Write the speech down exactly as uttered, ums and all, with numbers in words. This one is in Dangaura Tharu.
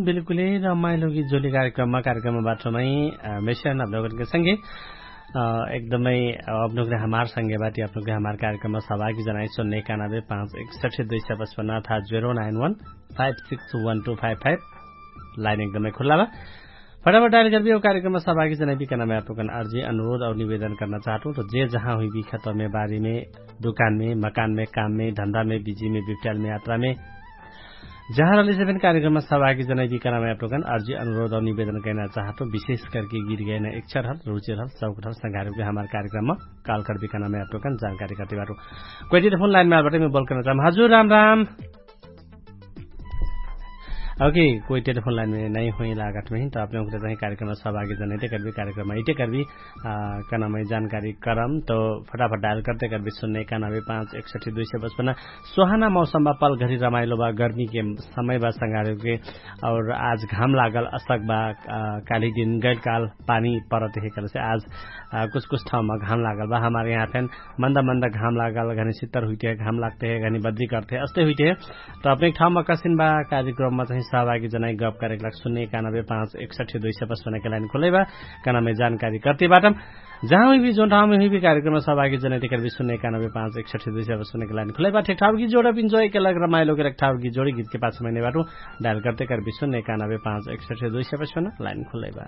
बिल्कुलै रमाइलो गीत जोली कार्यक्रममा कार्यक्रममा बाटोमै मेसियन अपनोगनके संगे एकदमै अपनोगने हमार संगे बाटी अपनोगने हमार कार्यक्रममा सहभागी जनाइ सुन्ने एकानबे पाँच एकसठी दुई सय पचपन्न अर्थात zero nine one five six one two five five. Line एकदमै खुल्ला बा। फटाफट डायल गर्बी कार्यक्रममा सहभागी जनाइ बिकनामे अपनोगन अर्जी अनुरोध और निवेदन कर्ना चाहतु त जे जहाँ हुइबी खतमे बारीमे दुकानमे मकानमे काममे धन्दामे बिजीमे बिप्ट्यालमे यात्रामे जहाँ रहली से फेन कार्यक्रममा सहभागी जनै बिकनामे अपनोकन अर्जी अनुरोध और निवेदन कैना चाहतो विशेष करके गीत गैना इच्छा रहल रुचि रहल सौक रहल संघारके हमार कार्यक्रममा काल कर बिकनामे अपनोकन जानकारी करते बाटो। कोइ टेलिफोन लाइनमे आलबटे मै बोल करना चाहम हजुर राम राम। ओके। कोइ टेलिफोन लाइनमे नै होइ लागत महिन त अपने उकरे चाहिं कार्यक्रममा सहभागी जनै ते करबी कार्यक्रममा इते करबी कनामै जानकारी करम त फटाफट डायल करते करबी सुन्ने एकानबे पाँच एकसठी दुई सय पचपन्न। सोहाना मौसम बा पल घरी रमाइलो बा गर्मी के समय बा संगारे के। और आज घाम लागल असक बा काली दिन गैल काल पानी परत हे कल से आज कुछ कुछ ठाउँमा घाम लागल बा हमार यहाँ फेन मन्दा मन्दा घाम लागल घनी सित्तर हुइते हे घाम लागते हे घनी बद्री करते हे अस्ते हुइते हे। त अपने ठाउँमा कसिन बा कार्यक्रममा चाहिँ सहभागी जनाइ गप करेक लाग सुन्ने एकानबे पाँच एकसठी दुई सय पचपन्न के लाइन खुलै बा। कनामे जानकारी करते बाटम जहाँ हुइबी जोन ठाउँमे हुइबी कार्यक्रममा सहभागी जनै तेकर बिसुन एकानबे पाँच एकसठी दुई सय सुनेके लाइन खुलै बा ठेकठाउर गीत जोडब इन्जोय केलक रमाइलो केलक ठाउर गीत जोडी गीतके पाछा महिने बाटु डायल करते कर बिसुन एकानबे पाँच एकसठी दुई सय पचपन्न लाइन खुलै बा।